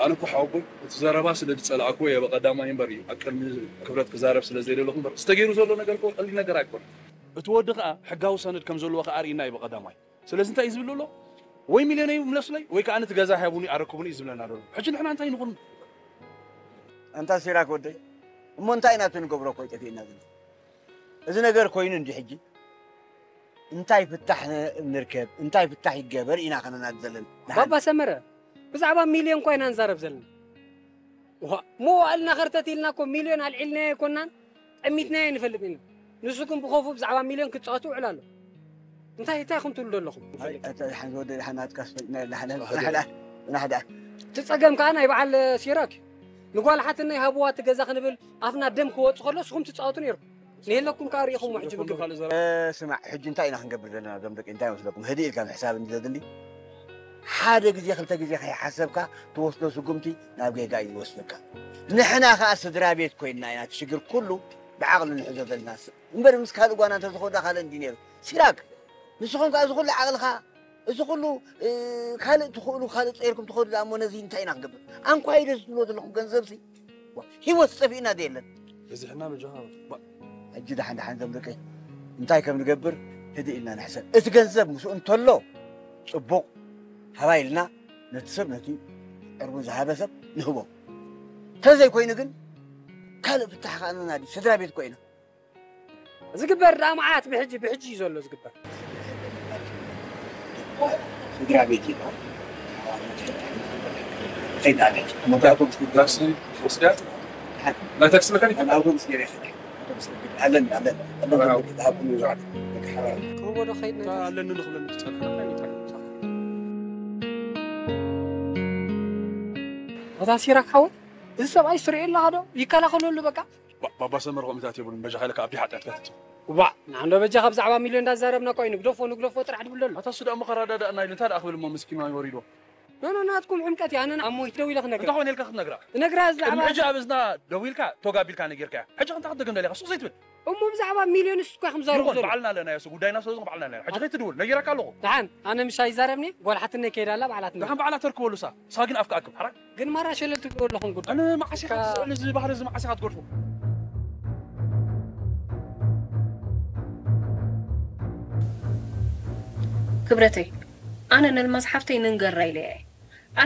ኣነ እኮ ሓወቦይ እቲ ዘረባ ስለ ዝጸላእኩ እየ ብቐዳማይ እምበር እዩ ኣብ ቅድሚ ክብረት ክዛረብ ስለ ዘይደለኹ እምበር ዝተገይሩ ዘሎ ነገር እኮ ቀሊል ነገር ኣይኮነ። እቲ ወዲ ከኣ ሕጋዊ ሰነድ ከም ዘለዎ ከኣ ኣርእና እዩ ብቐዳማይ። ስለዚ እንታይ እዩ ዝብል ዘሎ? ወይ ሚልዮነይ ምለሱለይ ወይ ከኣ ነቲ ገዛ ሃቡኒ ኣረክቡኒ እዩ ዝብለና ዘሎ። ሕጂ ንሕና እንታይ ንኹን? ኣንታ ሲራክ ወደይ፣ እሞ እንታይ ኢና እቲ ንገብሮ እኮ ይጠፊእና ዘሎ። እዚ ነገር ኮይኑ እንዲ ሕጂ እንታይ ፍታሕ ንርከብ እንታይ ፍታሕ ይገበር ኢና ከነናድ ዘለና። ባባ ሰመረ፣ ብዛዕባ ሚልዮን እኳ ኢና ንዛረብ ዘለና። ዋ፣ መዋእልና ኸርተት ኢልና እኮ ሚልዮን ኣልዒልናዮ ኣይኮናን፣ ጠሚትናዮ ንፈልጥ ኢና። ንስኹም ብኸፉ ብዛዕባ ሚልዮን ክትጻወቱ ውዕል ኣሎ። እንታይ እንታይ ኢኹም ትብሉ ዘለኹም? ኣይ፣ ኣታ ደሓን ዝወደ ደሓን ኣትካስ ፈጥና ደሓን ደሓን ደሓን። እቲ ጸገም ከኣ ናይ በዓል ሲራክ እዩ። ንጓል ሓትነይ ሃብዋ እቲ ገዛ ክንብል ኣፍና ደም ክወጽእ ከሎ ንስኹም ትጻወቱ ነይርኩም። ንየለኩም ከኣ ርኢኹም ሕጂ ብግብሪ። ስማዕ፣ ሕጂ እንታይ ኢና ክንገብር ዘለና? እዞም ደቂ እንታይ መስለኩም? ህድእ ኢልካ ምሕሳብ እንዲ ዘድሊ፣ ሓደ ግዜ ክልተ ግዜ ከይሓሰብካ ትወስዶ ስጉምቲ ናብ ጌጋ እዩ ዝወስደካ። ንሕና ከኣ ስድራ ቤት ኮይንና ኢና እቲ ሽግር ኩሉ ብዓቕሊ ንሕዞ ዘለና። እምበር ምስ ካልእ ጓና እንተዝኸዳ ካልእ እንዲ ነይሩ። ሲራክ፣ ንስኹም ከኣ እዚ ኩሉ ዓቕልኻ፣ እዚ ኩሉ፣ እ፣ ካልእ ትኽእሉ፣ ካልእ ጸይርኩም ትኸዱ ደኣ እሞ ነዚ እንታይ ኢና ክንገብር? ኣንኳይ ደስ ትብሎ ዘለኹም ገንዘብሲ፣ ዋ፣ ህይወት ጸፊእና ዶ የለን? በዚሕና በጃኻ፣ ባ- ሕጂ ደሓን ደሓን ዘምልቀይ እንታይ ከም ንገብር ህድእ ኢልና ንሕሰብ። እቲ ገንዘብ ምስኡ እንተሎ ጽቡቕ፣ ሃባ ኢልና ነቲ ሰብ፣ ነቲ ዕርቡ ዝሃበ ሰብ ንህቦ። እንተዘይኮይኑ ግን ካልእ ፍታሕ ከኣ ንናዲ። ስድራ ቤት ኮይና። ዝግበር ደኣ መዓት ብሕጂ፣ ብሕጂ እዩ ዘሎ ዝግበር። ስድራ ቤት እዩ። ከይዳ ቤት። ሞባይል ኮምፒውተር ዳስ ወስዳ። ናይ ታክሲ መካኒክ? ኣብ ኣውቶቡስ ገይረ ይኸዳ። ኣውቶቡስ ኣለኒ፣ ኣለኒ። ኣለኒ፣ ኣለኒ። ክህቦ ዶ ከይድ ናይ ታክሲ? ኣለኒ ንኽብለኒ ትጸንሕ። ኣታ ሲራክ ሓወይ፣ እዚ ሰብኣይ ስርኤ ኣለኻ ዶ? ይከላኸለሉ በቃ። ባ-፣ ባባ ሰመረ ከምኡታት የብሉን፣ በጃኻ ኢልካ ኣብቲ ሓጢኣትካ ትእትው። ዋእ፣ ንዓንዶ በጃኻ ብዛዕባ ሚልዮን እንዳዛረብና እኮ እዩ፣ ንግደፎ፣ ንግደፎ ጥራሕ ድብል ዘሎ። ኣታ እሱ ደኣ እሞ ከረዳድኣና ኢሉ እንታይ ደኣ ክብል እሞ ምስኪን ይወሪዶ? ኖ፣ ኖ፣ ናትኩም ሕምቀት እያ፣ ኣነ ኣሞይ ደው ኢለ ክነግራ። እንታይ ኾነ ኢልካ ክትነግራ? ክነግራ ቅድሚ ብዛዕባ ሕጂ ኣብ እዝና ደው ኢልካ ቶግ ኣቢልካ ነጊርካያ። ሕጂ እንታይ ክትደግም ደሊኻ? ሱቕ ዘይትብል። እሞ ብዛዕባ ሚልዮን ንሱ እኮ ከምዛረቡ ይኹን፣ ዘሎ። ባዕልና ኣለናዮ፣ እሱ ጉዳይና ስለ ዝኾነ ባዕልና ኣለናዮ። ሕጂ ከይትድውል፣ ነጊረካ ኣለኹ። ደሓን፣ ኣነ ምሻ ይዛረብኒ፣ ጓል ሓትነይ ከይዳ ኣላ ባዕላ ትነግር። ደሓን ባዕላ ተርክበሉ እሳ፣ እሳ ግን ኣፍካ ኣክብ፣ ሓራይ። ግን ማራ ሸለል ትብሉ ኣለኹም ጉዳይ። ኣነ መዓስ ኢኻ እካ ትስእል፣ እዚ ባህሪ እዚ መዓስ ኢኻ ትገድፎ? ክብረተይ፣ ኣነ ነልማዝ ሓፍተይ ንንገራ ኢለያ እየ።